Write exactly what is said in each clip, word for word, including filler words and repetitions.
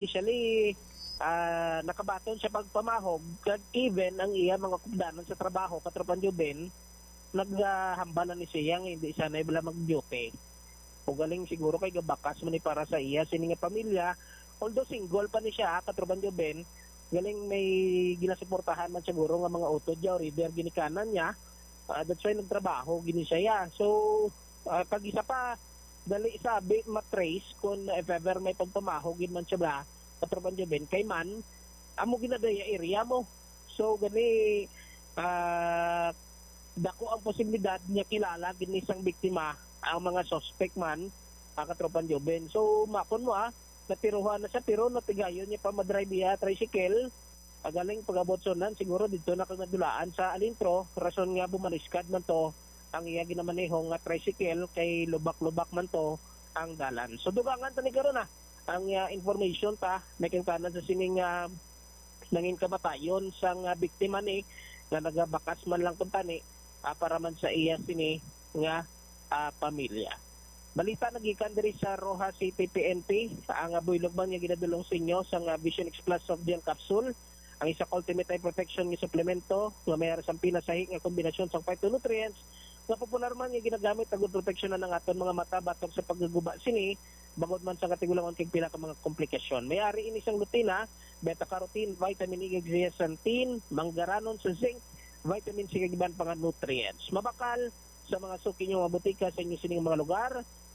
Initially, ah, nakabaton siya pagpamahog, kag even ang iya mga kupdanan sa trabaho, Katropang Joven, naghambal na ni siya nga hindi siya na bala mag-duty. O galing siguro kay gabakas man ni para sa iya sini nga pamilya, although single pa ni siya, Katropang Joven, galing may ginasuportahan man siguro nga mga utod niya or either ginikanan niya, ah, that's why nagtrabaho gini siya. So, ah, kag isa pa, dali sabi matrace kung if ever may pagpamahog gid man siya ba, Katropang Joven, kay man, amo ginadaya area mo. So, gani, ah, dako ang posibilidad niya kilala gid ni sang biktima ang mga suspect man, ah, Katropang Joven. So, makon mo, ah, natiruhan na siya, pero natigayon niya pa madrive iya tricycle. Pagaling pag-abot sa unan, siguro dito na kag nadulaan sa Alintro, rason nga bumaliskad man to ang iya ginamaneho nga tricycle kay lubak-lubak man to ang dalan. So, dugangan ta ni karon, ah, ang, ah, information ta, may kangtanan sa sining, ah, nangin kamatayon sang, ah, biktima ni nga nagabakas man lang kuntani, ah, para man sa iya sini nga, ah, pamilya. Balita nagikan diri sa Roxas City P N P, ang, ah, buylog man nga ginadulong sa inyo sang, ah, Vision X Plus soft gel capsule, ang isa ka ultimate eye protection nga suplemento nga may ara sang pinasahi nga kombinasyon sang phytonutrients nga popular man nga ginagamit agud proteksyonan ang aton mga mata batok sa paggaguba sini, bangod man sa katigulangon kag pila ka mga komplikasyon. May ari ini sang lutein, beta carotene, vitamin E, kag zeaxanthin, manggaranon sa zinc, vitamin C, kag iban pa nga nutrients. Mabakal sa mga suki niyo nga botika sa inyo sining mga lugar,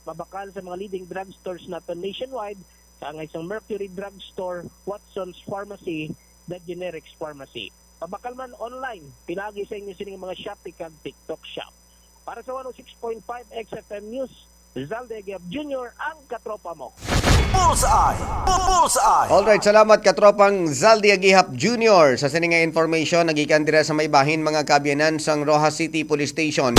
mabakal sa mga leading drugstores naton nationwide, kaangay sang Mercury Drugstore, Watson's Pharmacy, The Generics Pharmacy. Mabakal man online, pinaagi sa inyo sining mga Shopee kag TikTok Shop. Para sa one oh six point five X F M News, Zalde Agiab Junior, ang katropa mo. Bullseye! Bullseye! Alright, salamat, katropang Zaldi Agihap Junior, sa sini nga information nagikan dira sa may bahin, mga kaabyanan, sang Roxas City Police Station.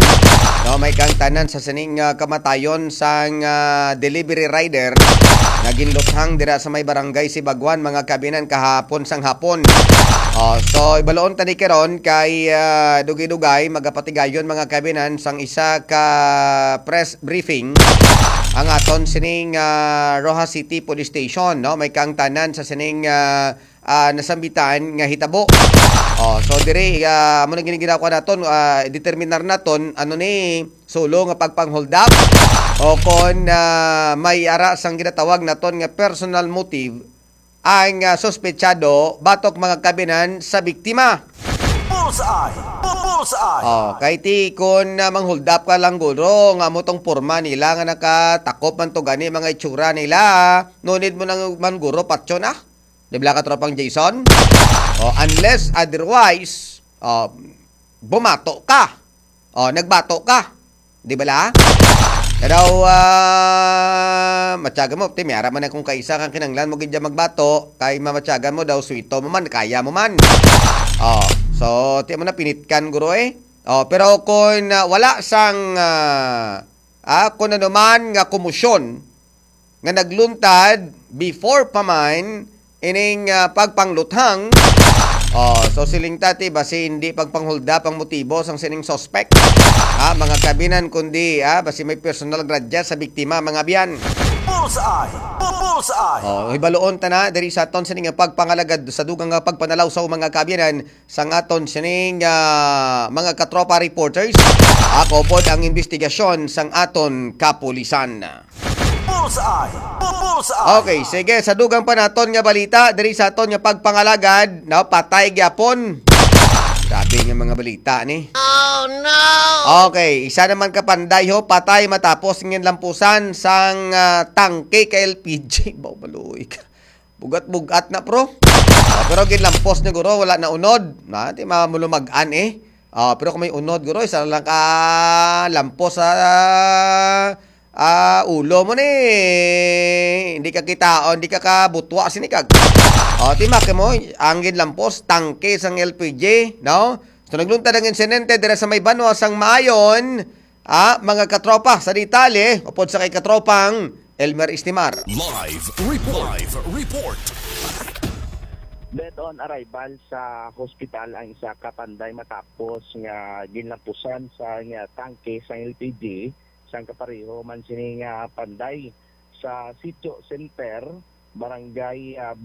No, may kangtanan sa sining, ah, kamatayon sang, ah, delivery rider nga ginluthang dira sa may barangay Sibagwan, mga kaabyanan, kahapon sang hapon. Oh, so, ibaloon ta ni karon kay, ah, dugay-dugay magapatigayon, mga kaabyanan, sang isa ka press briefing ang aton sining, ah, Roxas City Police Station, no? May kaangtanan sa sining, ah, ah, nasambitan nga hitabo. Oh, so diri, ah, amo na gini ginagawa naton, ah, determinar naton ano ni sulo nga pagpang-hold up o kon, ah, may ara sang ginatawag naton nga personal motive ang, ah, suspetsado batok, mga kaabyanan, sa biktima. Bullseye! Bullseye! Oh, kay ti kon, ah, mang-hold up ka lang guro nga amo tong porma nila nga nakatakop man to gani mga itsura nila, no need mo nang man guro patyon, ah. Di ba, katropang Jason? Oh, unless otherwise, oh, bumato ka. Oh, nagbato ka. Di bala? Kadaw, ah, matyagan mo, ti, may ara man akong kaisa kang kinanglan mo gid dyan magbato, kay mamatyagan mo daw, suwito mo man, kaya mo man. Oh, so, ti mo na pinitkan, guro, eh. Oh, pero kung, ah, wala sang, ah, ah, kung ano man nga komosyon nga nagluntad before pa man ining, ah, pagpangluthang. Oh, so siling ta ti, basi hindi pagpang-hold up ang motibo sang sining suspect. Ah, mga kaabyanan, kundi, ah, basi may personal grudge sa biktima, mga abyan. Bullseye! Bullseye! Oh, hibaloon ta na diri sa aton sining nga pagpangalagad sa dugang nga pagpanalaw sa mga kaabyanan sang aton sining, ah, mga katropa reporters. Ako pod ang investigasyon sang aton kapulisan. Bullseye! Bullseye! Okay, sige, sa dugang pa naton nga balita, diri sa aton nga pagpangalagad, no, patay gyapon. Grabe nga mga balita ni. Oh, no! Okay, isa naman ka panday ho, patay matapos nga lampusan sang, ah, tangke ka L P G. Baw, maluoy ka. Bugat-bugat na, pro. Ah, pero ginlampos ni guro, wala na unod. Na, ti mamulumag-an, eh. Ah, pero kung may unod, guro, isa lang ka lampos sa, ah, ulo mo ni. Hindi ka kitaon, hindi ka kabutwa sini kag. Oh, ti maki mo, ang ginlampos, tangke sang L P G, no? So, nagluntad ang insidente dira sa may banwa sang Maayon. Ah, mga katropa, sa detalye, upod sa kay katropang Elmer Istimar. Live report. Live report. Dead on arrival sa hospital ang isa ka panday matapos nga ginlampusan sa nga tangke sa L P G sang kapareho man sini nga panday sa Sitio Center, Barangay, ah,